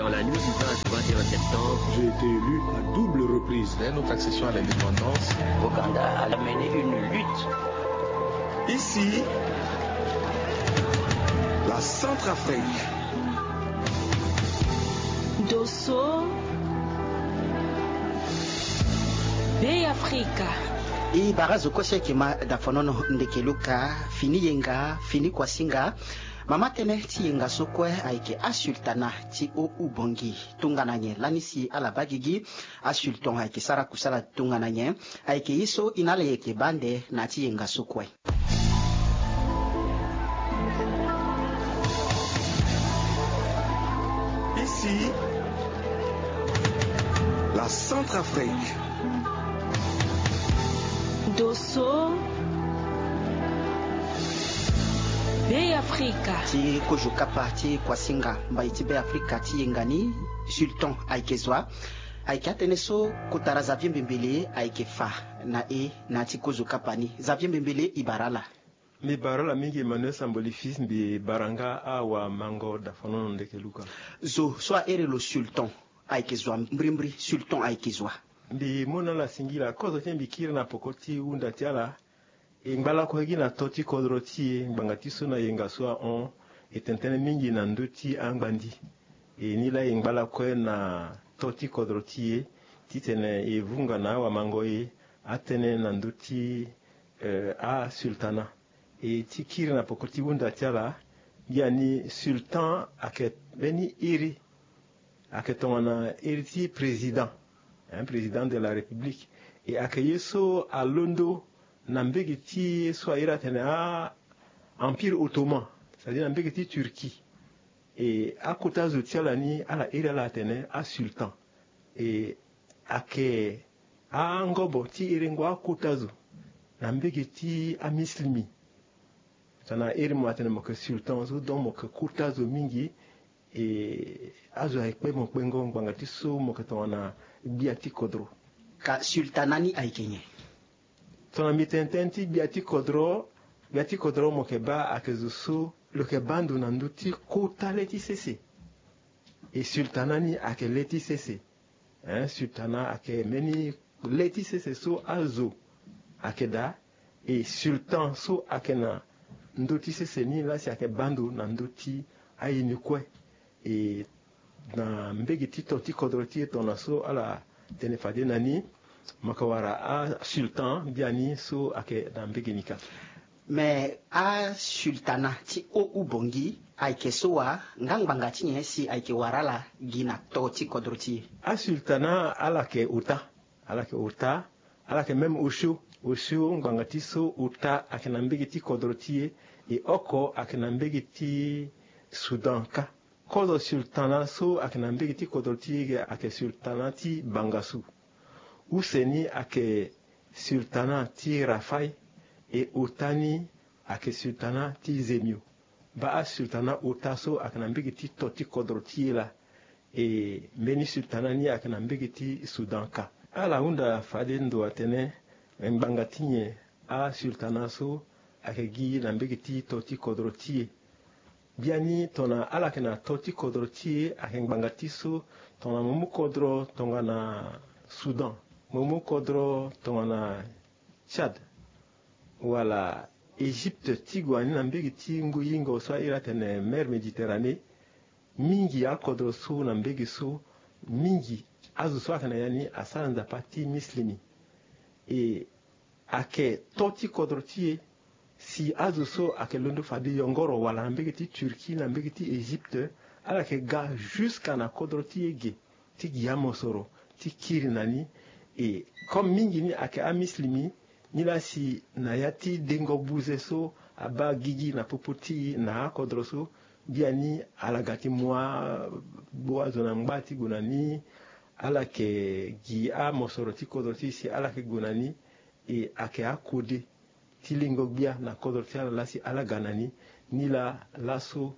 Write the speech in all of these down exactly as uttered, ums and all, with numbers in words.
Dans la nuit du vingt au vingt et un septembre, j'ai été élu à double reprise. Dès notre accession à l'indépendance, Ouganda a mené une lutte. Ici, la Centrafrique. Dosso, Bêafrika. E bara zo kue so ayeke ma dafonono ndeke luka, fini yenga, fini kuasinga. Mama tënë ti yenga so kue ayeke asultana ti o ubongi. Tongana nyen lani si ala baa gigi, asultan ayeke sara kusala tongana nyen? Ayeke ye so e na ala yeke baa nde na ya ti yenga so kue. Ici, la Centrafrique. Dosso, Bêafrika. Ti kozo kapa ti kuasinga mbai ti Bêafrika ti yenga ni, sultan ayeke zo wa. Ayeke atënë so kota ra Xavier Mbembele ayeke fa na e na ya ti kozo kapa ni. Xavier Mbembele, e bara ala. Mbi bara ala mingi, Emmanuel Samboli Fils, mbi bara nga awamango dafonono ndeke luka. Zo so ahere lo sultan ayeke zo wa, mbrimbri sultan ayeke zo wa. Mbi mu na ala singila, kozo ti mbi kiri na poko ti hunda ti ala. E ngba lakue gi na to ti kodro ti e ngbanga ti so na yenga so ahon, e tene tënë mingi na ndö ti angbandi. E nilaa e ngba lakue na to ti kodro ti e titene e vunga na awamango e atënë na ndö ti, eh, asultana. E ti kiri na poko ti hunda ti ala, ngia ni sultan ayeke mbeni iri, ayeke tongana iri ti président, hein, président de la République. E ayeke ye so alondo na mbege ti ye so a iri atene a Empire Ottoman, c'est-à-dire na mbege ti Turquie. E akota zo ti ala ni ala iri ala atene asultan. E ayeke angobo ti herengo akota zo na mbege ti amislimi. Tongana iri mo atene mo yeke sultan so, donc mo yeke kota zo mingi. E azo ayeke kpe mo kpengo ngbanga ti so mo yeke tongana gbia ti kodro. Ka sultana ni ayeke nyen? Tongana mbi tene tënë ti gbia ti kodro, gbia ti kodro mo yeke baa ayeke zo so lo yeke baa ndo na ndö ti kota le ti sese. E sultana ni ayeke le ti sese. Hein, sultana ayeke mbeni le ti sese so azo ayeke daa. E sultan so ayeke na ndö ti sese ni laa si ayeke baa ndo na ndö ti aye ni kue. E na mbege ti to ti kodro ti e tongana so ala tene fade na ni, mo yeke wara asultan biani so ayeke na mbege ni ka. Me asultana ti o ubongi ayeke so wa, nga ngbanga ti nyen si ayeke wara ala gi na to ti kodro ti e? Asultana ala yeke ota, ala yeke ota, ala yeke même osio. Osio ngbanga ti so ota ayeke na mbege ti kodro ti e, e oko ayeke na mbege ti Soudan ka. Kozo sultana so ayeke na mbege ti kodro ti e ge ayeke sultana ti Bangassou. Use ni ayeke sultana ti Rafaï, e ota ni ayeke sultana ti Zemio. Baa asultana ota so ayeke na mbege ti to ti kodro ti e laa, e mbeni sultana ni ayeke na mbege ti Soudan ka. Ala hunda fade ndo atene, ngbanga ti nyen asultana so ayeke gi na mbege ti to ti kodro ti e? Biani tongana ala yeke na to ti kodro ti e ayeke ngbanga ti so, tongana mo mu kodro tongana Soudan, mo mu kodro tongana Tchad, wala Égypte ti gue na ni na mbege ti ngu yingo so a iri atene mer Méditerranée. Mingi akodro so na mbege so, mingi azo so ayeke na ya ni asara nzapa ti mislimi. E ayeke to ti kodro ti e. Si azo so ayeke londo fade yongoro wala na mbege ti Turquie, na mbege ti Égypte, ala yeke ga jusqu'à na kodro ti e ge ti gi amosoro ti kiri na ni. E comme mingi ni ayeke amislimi, ni laa si na ya ti dengo buze so abaa gigi na popo ti e na akodro so, biani ala ga ti mu agbu azo na ngba ti gue na ni. Ala yeke gi amosoro ti kodro ti e si ala yeke gue na ni. E ayeke akode ti lingo gbia na kodro ti ala laa si ala ga na ni. Ni laa laso,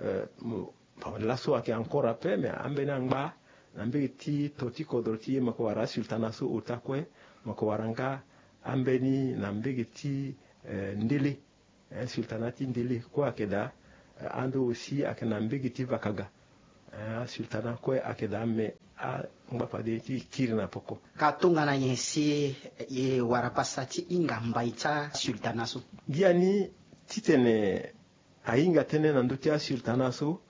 eh, mo, bon, laso ayeke encore ape, mais ambeni angba na mbege ti to ti kodro ti e mo yeke wara asultana so ota kue. Mo yeke wara nga ambeni na mbege ti, eh, ndele. Eh, sultana ti ndele kue ayeke daa. Eh, ande aussi ayeke na mbege ti vakaga. Asultana kue ayeke daa me angba fade ti kiri na poko. Ka tongana nyen si e wara pasa ti hinga mbai ti asultana so? Biani titene ahinga tënë na ndö ti asultana so,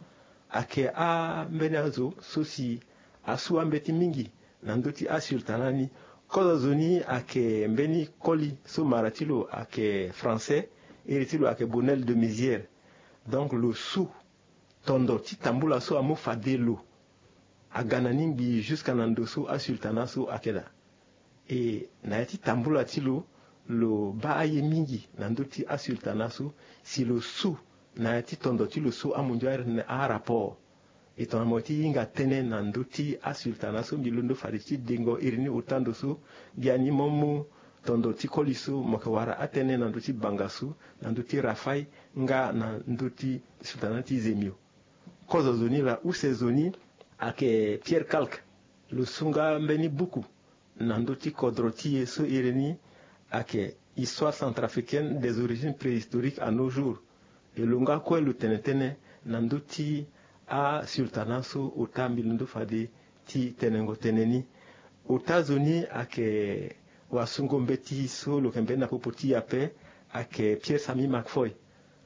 ayeke ambeni azo so si asu ambeti mingi na ndö ti asultana ni. Kozo azo ni ayeke mbeni koli so mara ti lo ayeke français, iri ti lo ayeke Bonnel de Mézières. Donc lo su tondo ti tambula so amu fade lo aga na ni ngbii jusqu'à na ndo so asultana so ayeke daa. E na ya ti tambula ti lo, lo baa aye mingi na ndö ti asultana so. Si lo su na ya ti tondo ti lo so amundu airi tene arapport. E tongana mo ti hinga tënë na ndö ti asultana so, mbi londo fade ti dengo iri ni ota ndo so. Biani mo mu tondo ti koli so mo yeke wara atënë na ndö ti banga so, na ndö ti Rafai nga na ndö ti sultana ti Zemio. Kozo zo ni laa, use zo ni ayeke Pierre Kalk. Lo su nga mbeni buku na ndö ti kodro ti e so iri ni ayeke Histoire centrafricaine des origines préhistoriques à nos jours. E lo nga kue lo tene tënë na ndö ti asultana so ota mbi londo fade ti tenengo tënë ni. Ota zo ni ayeke wasungo mbeti so lo yeke mbeni na popo ti e ape, ayeke Pierre Samy Macfoy.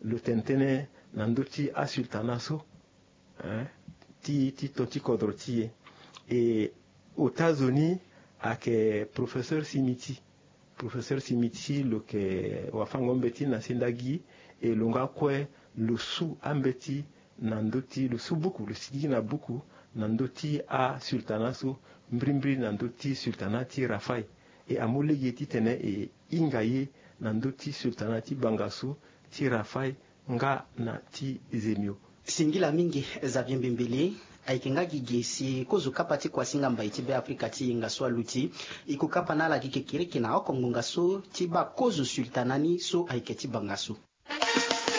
Lo tene tënë na ndö ti asultana so, hein, ti, ti to ti kodro ti e. E ota zo ni ayeke professeur Simiti. Professeur Simiti lo yeke wafango mbeti na sendagi. E lo nga kue lo su ambeti na ndö ti, lo su buku, lo sigigi na buku na ndö ti asultana so, mbirimbiri na ndö ti sultana ti Rafai. E amu lege titene e hinga ye na ndö ti sultana ti banga so, ti Rafai nga na ti Zemio. Singila mingi Xavier Mbembele. Ayeke nga gi ge si kozo kapa ti kuasinga mbai ti Beafrika ti yenga so aluti, e ko kapa na ala gi kekereke na oko ngbonga so ti baa kozo sultana ni so ayeke ti banga so.